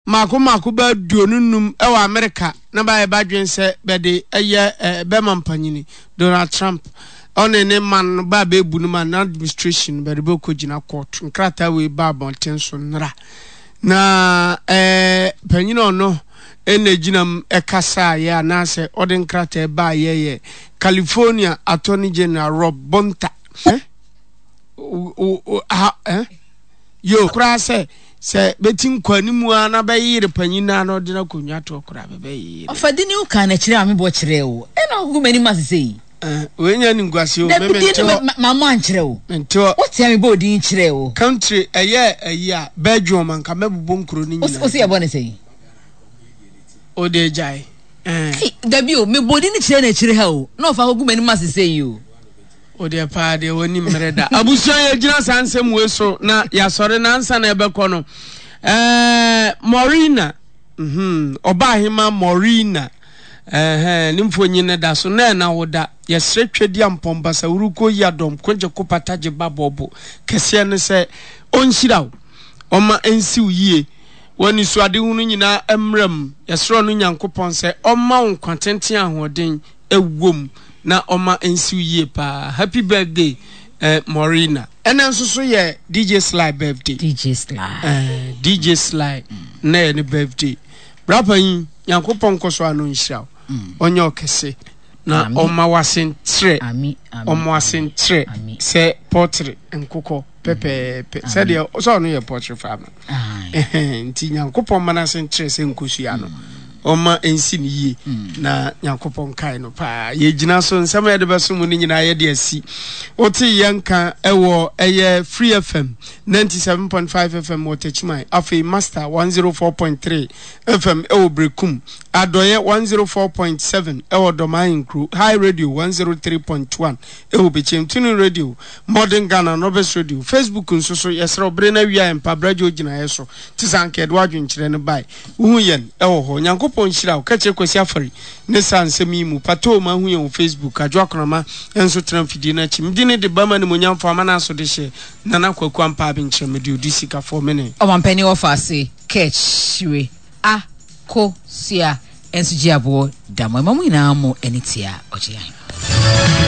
Mmaako mmaako bɛyɛ 25 wɔ Amerika na bɛayɛ bɛadwen sɛ bɛde ɛyɛ bɛma mpanyini Donald Trump ɔne ne man no bɛ a bɛɛbu no man no administration no bɛde bɛkɔ gyina court. Nkrataa wei ba abɔnten so nnora na ɛɛ panyini ɔno ɛna gyina mu ɛkasaeɛ anaasɛ ɔde nkrataa baayɛ yɛ California Attorney General Rob Bonta. Eh? O, o, ha, eh? Yo, koraa sɛ, sɛ bɛti nkɔanimu ara na bɛyere panyin no ara na ɔde no akonnwa toɔ koraa bɛbɛyere. Ɔfa di ne wo kan na kyerɛ a mebɔ kyerɛɛ wo ɛna wogugu m'anim ase sei. Eh, wei nyɛ animguaseɛ o, me Dabi din mente no hɔ. mammɔ ankyerɛ wo. Mente hɔ. Wote a mebɔɔ din kyerɛɛ wo. Country ɛyɛ ayi a, Belgium anka mɛbobɔ nkuro no Wo nyinaa wo se din. yɛbɔ ne sɛn? Wo deɛ gyae. Eh. Ei, dabi o, mebɔɔ din no kyerɛɛ no akyire ha o, na ɔfa kɔgu m'anim ase sei o. Wo deɛ paa deɛ w'ani mmere da. Abusua yɛgyina saa nsɛm wei so na yɛasɔre na ansa na ɛbɛkɔ no ɛɛ Maurina mhm ɔbaahema Maurina ɛhɛn ne mfonyin no da so na ɛna wo da yɛsrɛ twɛdi ampɔn basawurukuo yi adɔm kogye ko pata gye ba bɔbo kɛseɛ ne sɛ ɔnhyira wo ɔma ɛnsi wo yie w'anisoadehunu nyinaa mmra mu yɛsrɛ ɔno Nyankopɔn sɛ ɔmma wo nkwa tenten ahoɔden ɛwom na ɔma ɛnsiw yie paa happy birthday eh, Maurina. Ɛnɛ nso so yɛ DJ Sly birthday. DJ Sly. Eh, DJ Sly mm. Na yɛ ne birthday. Bra panyin, Nyankopɔn nkɔ so ano nhyira wo. Mm. Ɔnyɛ ɔkɛse na ɔma wase ntrɛ. Ɔma wase ntrɛ sɛ pɔtre nkokɔ pɛpɛɛpɛ. Sɛdeɛ sɛ ɔno yɛ pɔtre farmer. Nti Nyankopɔn ma n'ase nkyerɛ sɛ nkosua no ɔma ɛnsi no yie mm. na Nyankopɔn kae no paa. Yɛgyina so nsɛm a yɛde bɛso mu no nyinaa yɛde asi. Wote yɛn nka ɛwɔ ɛyɛ Free FM 97.5 FM wɔ Techiman, afei Master 104.3 FM ɛwɔ Berekum, Adɔeɛ 104.7 ɛwɔ Dɔmaa Nkuro, High Radio 103.1 ɛwɔ Bekyem, Tunu Radio Modern Ghana Novice Radio, Facebook nso so, yɛsrɛ wo bere no awia yɛn mpa bra gye wo gyinaeɛ so te sɛ anka yɛde w'adwenkyerɛ no bae. Wohu yɛn wɔ hɔ. Nyankopɔn nhyira wo. Ka kyerɛ Kwasi Afari ne saa nsɛm yi mu. Patoo ma ahu yɛn wɔ Facebook. Adwo Akonama nso tena mfidie no akyi. Mede ne de bɛma animuonyamfoɔ ama no aso de hyɛ Nana Kwaku Ampaa Abenkyerɛ. Mede odi sikafoɔ mene. Ɔmampanin wɔfaase kɛkyire a ko sua nso gye aboɔ da mo ɛma mo nyinaa mo ani tia ɔgye ahema.